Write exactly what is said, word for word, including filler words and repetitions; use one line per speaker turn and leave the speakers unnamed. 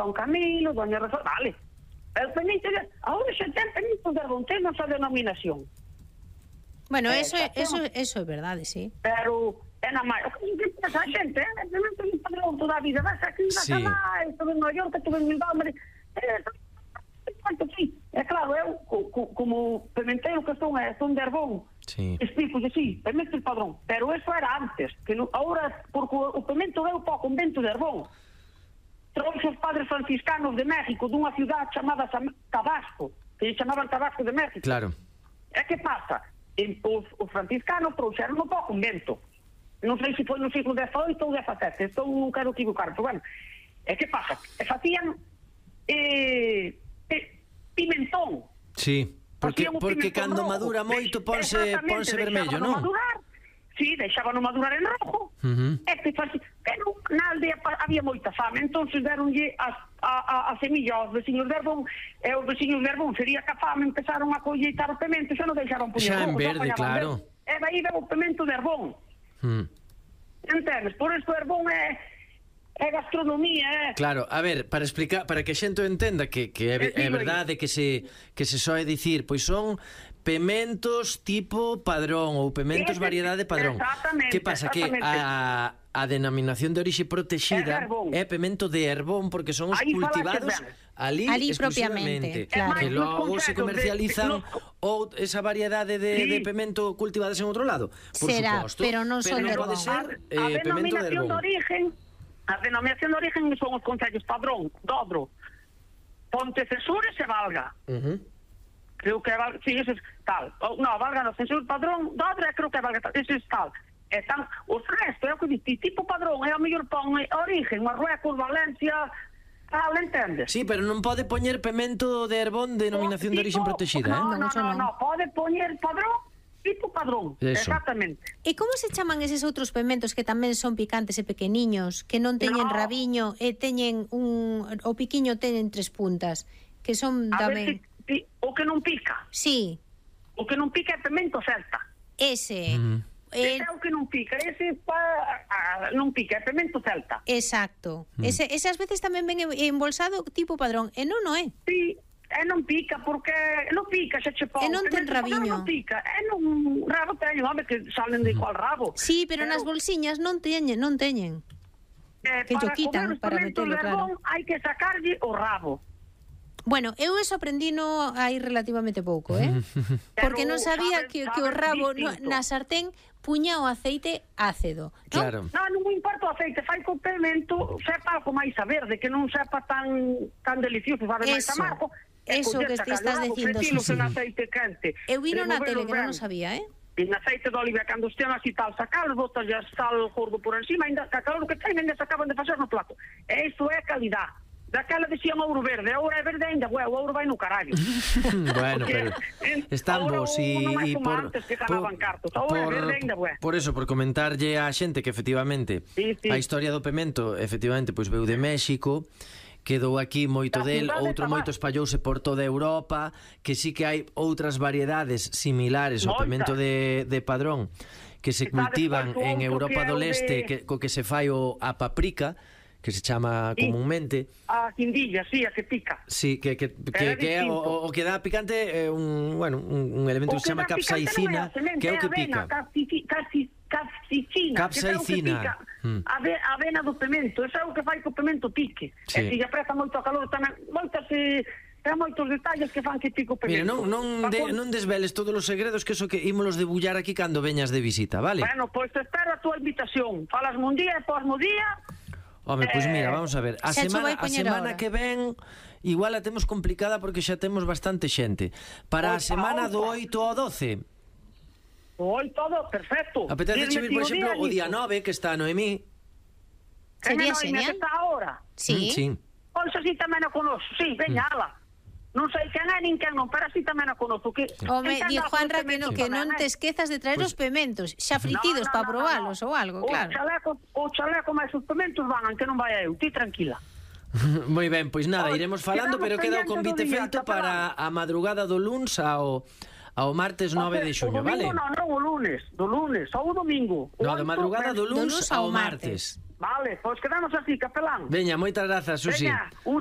don Camilo, doña Rosa, vale. El pemento, ahora xa ten pemento de Arbón, ten nosa denominación.
Bueno,
Eh,
eso,
xa
eso,
temos.
eso é verdade, sí.
Pero é na máis, o que pasa a xente, é pemento de Padrón toda a vida, vas aquí, vas
Sí.
alá, estuve en Nueva York, estuve en Bilbao, me quanto sí, é claro, eu co, co, como pimenteiro que son, é, son de Arbón,
Sí.
explico de sí, pemento de Padrón, pero eso era antes, que no, ahora, porque o, o pemento deu para o convento de Arbón, trouxe os padres franciscanos de México dunha ciudad chamada Tabasco, que lle chamaban Tabasco de México.
Claro.
E que pasa? En, os, os franciscanos trouxeron para o convento. Non sei se foi no siglo dezoito ou dezasete, estou non quero equivocar, pero bueno. E que pasa? E facían eh, eh, pimentón.
Sí, porque,
Facían un
porque
pimentón
cando
rojo.
madura moito ponse,
Exactamente,
ponse vermello,
deixábano
non?
madurar. Sí, deixábano madurar en rojo.
Uh-huh.
E que faci... que non, na aldea pa- había moita fame, entonces deronlle as, a, a, a semilla aos veciños de Arbón, e os veciños de Arbón sería que a fame empezaron a colleitar o pemento, xa non deixaron poñer
Xa en
rojo,
verde,
poñaban
claro.
verde. E daí veo o pemento de Arbón.
Mm.
Entendes? Por isto Arbón é, é gastronomía, é...
Claro, a ver, para explicar, para que a xente o entenda que, que é, é verdade que se que se soe dicir, pois son pementos tipo Padrón ou pementos
Ese-
variedade Padrón.
exactamente,
Que pasa que
exactamente.
a a denominación de orixe
É
protexida
de Arbón.
é pemento de Arbón porque son os
Aí falaches
cultivados
ben.
ali,
Ali
exclusivamente.
propiamente, claro.
Que
É máis
logo
nos
se
concellos
comercializan
de- de-
ou esa variedade de,
Sí.
de pemento cultivadas en outro lado. Por
Será,
suposto,
pero non son de
pero pode
Arbón.
ser
A, a
eh, pemento de
denominación de
Arbón.
origen, a denominación de origen son os concellos Padrón, Dodro, Pontecesures e Valga.
Uh-huh.
Creo que é Valga, sí, ese es tal. O, no, Valga no, Censur Padrón, Dodro, e creo que é Valga tal, ese es tal. Están, os restos, é o que dite, tipo Padrón, é o mellor pon origen, Marruecos, Valencia, tal, entendes?
Sí, pero non pode poñer pemento de Arbón de denominación de origen
Tipo-
protexida,
no,
eh?
No,
eso
no,
non.
no, pode poñer Padrón, tipo Padrón,
Eso.
exactamente.
E como se chaman eses outros pementos que tamén son picantes e pequeniños, que non teñen
No.
rabiño e teñen un... o piquiño teñen tres puntas, que son
A ver
tamén...
si, si, o que non pica,
Sí,
o que non pica é pemento celta.
ese...
Mm.
Ese
Eh,
é o que non pica, ese pa, a, non pica, é pemento celta.
exacto.
Mm.
Ese, ese ás veces tamén ven embolsado tipo Padrón, e non, non é.
Sí, e non pica porque non pica, xa che pon.
E non ten
Pemento celta
rabiño.
Non pica, e non rabo teñen, home, que salen de igual rabo.
Sí, pero nas bolsiñas non teñen, non teñen.
eh,
que llo
para
quitan,
comer os
para
pementos
metelo,
de Arbón hai que sacarlle o rabo.
Bueno, eu eso aprendino hai relativamente pouco, eh? Porque non sabía
sabe-
que,
sabe
que o rabo no,
distinto.
na sartén puña o aceite ácido, non?
Claro.
Non, non me importa o aceite, fai co pemento, sepa algo máis a verde, que non sepa tan tan delicioso, sabe máis
Eso,
amargo. e
eso
coller,
que te
sacar
estás
o rabo,
dicindo,
fritilos
sí,
en
sí.
aceite quente.
Eu vino na tele
removelos
que non
ben.
o sabía, eh?
En aceite de oliva, cando estean así tal, sacalos, botas ya sal gordo por encima, ainda que calor que ten, ainda se acaban de facer no plato. E isto é calidad. Daquela decían ouro verde, agora é verde ainda, o ouro vai no carallo.
Bueno,
Porque,
pero
eh,
están
ahora
vos
o- non
e
é como
por
antes que ganaban cartos, ahora é verde ainda, bué.
por eso, por comentarlle á xente que efectivamente
Sí, sí.
a historia do pemento efectivamente pois veu de México, quedou aquí moito
Da
del,
cidade de
outro
Tabasco.
moito espallouse por toda Europa, que sí que hai outras variedades similares ao
Moitas.
pemento de, de Padrón que se
E sabes
cultivan
cuál
en
outro
Europa
que é
do
o de-
Leste, que, co que se fai o, a paprika, que se chama
Sí.
comúnmente.
A quindilla, sí, a que pica.
Sí, que, que, que,
é
que é o,
distinto.
o que dá picante é un, bueno, un, un elemento que se chama capsaicina, que é o que pica.
Capsaicina.
Capsaicina. Mm.
A ve- a avena do pemento, eso é o que fai que o pemento pique.
Sí.
E se lle apreta moito a calor, tamén, moitas, eh, ten moitos detalles que fan que pique o
Mira,
pemento.
non, non, de,
Pa-
non desveles todos os segredos, que eso que ímolos debullar aquí cando veñas de visita, vale?
Bueno, pois te espero a tua invitación. Falas un día e posmo día.
Home, pois
eh,
mira, vamos a ver. A
xa cho
semana,
vai
a
poñer
semana
ahora.
que ven igual a temos complicada porque xa temos bastante xente. Para a
Opa,
semana do
opa.
oito ao doce,
Oi, todo perfecto.
apetece
Dirme
vir,
ti
por
o
exemplo,
día,
o día
Nico.
nove, que está Noemí.
Que
Sería
neno, e me
genial.
que está ahora.
Sí.
Mm, sí.
Pois así tamén a conozo. Sí, veña,
Mm.
ala. Non sei quen é nin quen non, pero así tamén a conozo. Que,
Home,
entenda
di
algo
Juanra
do
que, no,
pemento
que
tamén,
non
eh.
te esquezas de traer
Pois-
os pementos, xa fritidos
No, no,
para
no, no,
probalos
no.
ou algo,
O
claro.
chaleco, o chaleco máis os pementos van, que non vai eu, ti tranquila.
Moi ben, pois nada,
Oi,
iremos falando,
quedamos
pero queda o
pendiente
convite
do día,
feito
capelán.
para a madrugada do luns ao, ao martes nove de xuño,
o domingo,
vale?
non, non, o lunes, do lunes, ou o domingo. O
No, de
oito,
madrugada do
do
luns
luns
ao
ao
martes.
Vale, pois quedamos así, capelán.
Veña, moitas grazas, Susi.
Veña, un